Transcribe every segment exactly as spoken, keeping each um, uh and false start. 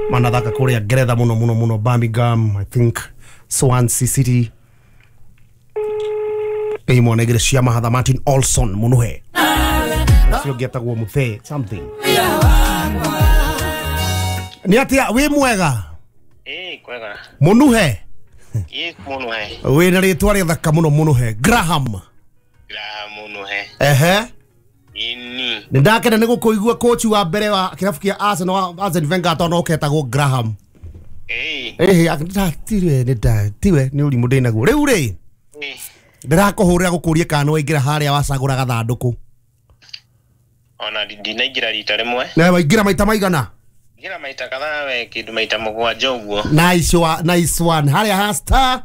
Manathaka kũrĩa Ngeretha mũno mũno mũno, Birmingham, I think Swansea City. Ĩ mwana igĩrĩ cia mahatha Martin Olson Munuhe. Ũcio ũngĩ etagwo Muthe something. Nĩ atĩa wĩ mwega? Ĩ kwega. Munuhe. Ĩ Munuhe. Wĩna rĩtwa rĩthaka mũno Munuhe. Graham. Graham Munuhe. Ehe. Ini. Nĩ ndakena nĩ gũkũigua coach wa mbere wa kĩrabu kĩa Arsenal wa Arsene Wenger tondũ ũketagwo Graham. Ĩ. Ĩhĩ ndatiwe nĩ ndatiwe nĩ ũrimũ ndĩnaguo. Rĩu rĩ. Ĩ. Ndĩrakũhũrĩra gũkũria kana nĩ waingĩra harĩa wacagũra gathandũkũ. Ona ndinaingĩra rita rĩmwe. Na waingĩra maita maigana? Ingĩra maita kadhaa we kĩndũ maita mũgwanja ũguo. Nice one, nice one. Harĩa ha star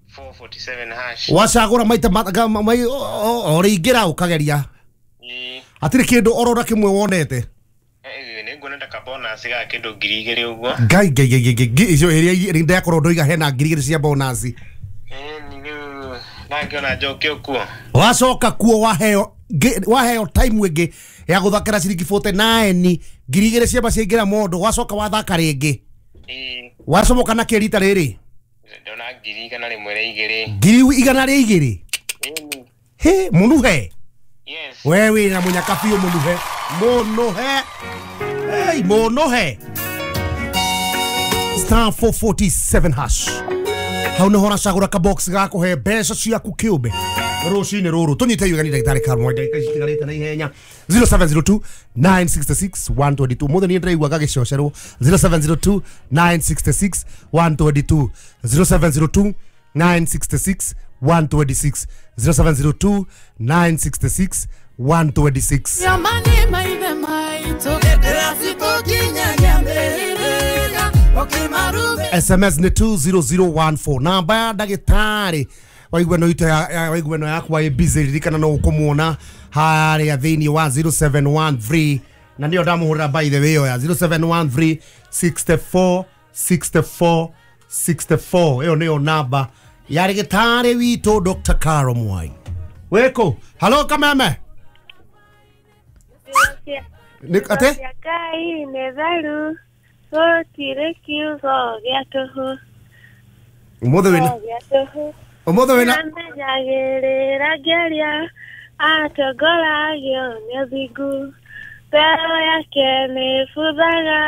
four forty-seven hash. Wacagũra maita o rĩingĩra ũkageria. Hatirĩ kĩndũ orora kĩmwe wonete. Nĩ nguona ta bonus ga kĩndũ ngiri igĩrĩ ũguo. Ngai ngai ngai ngai icio ĩrĩa ndakorwo ndoiga hena ngiri igĩrĩ cia bonus. Eh ni ndangĩona njoke kuo. Wacoka kuo waheo waheo time ĩngĩ ya gũthakĩra ciringi forty-nine ngiri igĩrĩ ciamba ciaingĩra mondo wacoka wathaka rĩngĩ. Wacomoka na kĩ rita rĩrĩ? Ndona ngiri igana rĩmwe rĩa igĩrĩ. Ngiri igana rĩa igĩrĩ? He Munuhe. Yes. We wĩna mũnyaka biũ Munuhe. Munuhe. Hey Munuhe. Star four forty-seven hash. Hau nĩho ũracagũra ka box ga kũhe mbeca ciaku kĩũmbe rũcinĩ rũrũ. Tũnyite igani ndagĩtarĩ Karl ndagĩka citigarĩte na ihenya. zero seven zero two nine six six one two two. Mũthĩ niĩ ndĩraigua gagĩcocerwo. zero seven zero two nine six six one two two. zero seven zero two nine six six one two six. zero seven zero two nine six six one two six. S M S ni two zero zero one four. Namba ya ndagĩtarĩ waigua no ito ya waigua no yakwa ĩ busy ririkana no ũkũmuona harĩa thĩinĩ wa zero seven one three na nĩyo ndamũhũrĩra by the way ya zero seven one three six four six four six four. Ĩyo nĩyo namba ya ndagĩtarĩ witũ Doctor Carol Mwai. Wĩkũ? Hello Kameme. Nĩ ate? Ngai nĩ tharu. Gũtirĩ kiugo gĩa tũhũ. Ũmũthĩ wĩna Ũmũthĩ wĩna Nĩamenyagĩrĩra ngĩaria atongoragio nĩ ũthingu. Mbere yake nĩbuthaga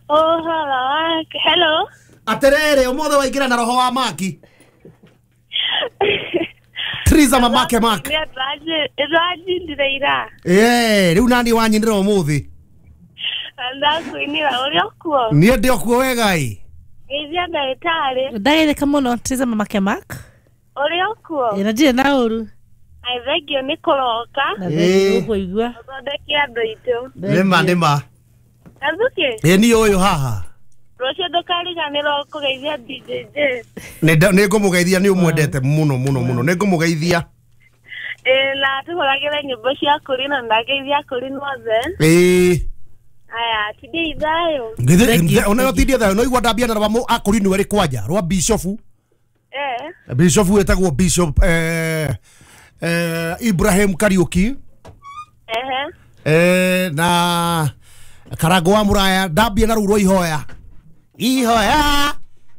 ũhoro wake. Hello. Atĩrĩrĩ ũmũthĩ waingĩra na roho wa maki. Triza mamake mak. Nĩ ira. Eh, rĩu nani wanyinĩra ũmũthĩ? Ndakuinĩra ũrĩa ũkuo. Niĩ ndĩ okuo wega ĩ. Geithia ndagĩtarĩ. Ndagĩtheka mũno Triza mamake mak. Ũrĩa ũkuo? Ĩ na ndirĩ na ũru. Ai thengio nĩ kũroka. Na thengio gũkũigua. Ũthondeke andũ aitũ. Nĩma nĩma. Gathuki? Ĩ niĩ ũyũ haha. Rũciũ ndũkariganĩrwo kũgeithia D J J. Nĩ ngũmũgeithia nĩ ũmwendete mũno mũno mũno. Nĩ ngũmũgeithia. Ĩ na tũhũragĩre nyĩmbo cia kũrina na ndageithia kũrina othe. Ĩ. Aya, tindie ithayo. Ngithe ona yo tindie thayo no igua ndambia na rwa akũrinwo erĩ kwanja rwa bishofu. Eh. Bishofu etagwo Bishop eh eh Ibrahim Kariuki. Eh. Eh na Karango wa Muraya ndambia na rurwo ihoya. Ihoya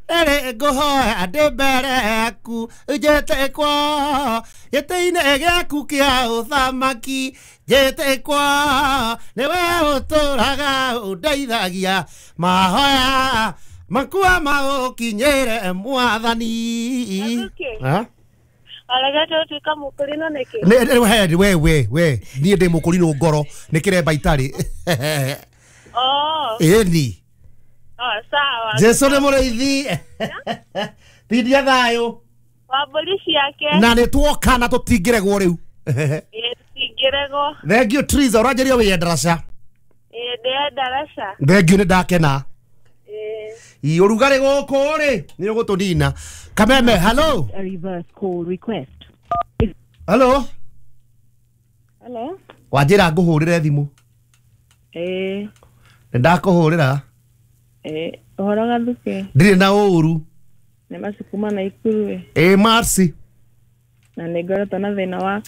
ere ngũhoya ndĩ mbere yaku njĩte kwa gĩtĩ-inĩ gĩaku kĩa ũthamaki njĩte kwa nĩwe ũtũraga ũndeithagia mahoya makua maũkinyĩre mwathani. Aregete ũtuĩka mũkũrinũ nĩkĩ? Nĩ we we we niĩ ndĩ mũkũrinũ ngoro nĩ kĩremba itarĩ. Oh. Ĩni. Oh, sawa. Jesu nĩ mũrĩithi. Tindia thayũ. Wa mbũri ciake. Na nĩ tuoka na tũtingĩregwo rĩu. Ĩ tũtingĩregwo. Thank you Triza, ũranjĩria wĩ ndaraca. Ĩ ndĩ ndaraca. Thank you nĩ ndakena. Ĩ. Ũrugarĩ gũkũ rĩ nĩ ũgũtũnina. Kameme, hello. A reverse call request. Hello. Hello. Wanjĩra ngũhũrĩre thimũ. Ĩ. Nĩ ndakũhũrĩra. Eh, ũhoro Gathuke? Ndirĩ na ũru. Nĩ Mercy kuma Naikuru ĩ. Ĩ Mercy. Na nĩ ngoretwo na thĩna wa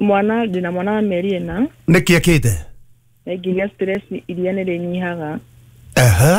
mwana, ndĩna mwana wa mĩeri ĩna. Nĩkĩ ekĩte? Na ngĩgĩa stress iria nĩ rĩnyihaga. Ehe.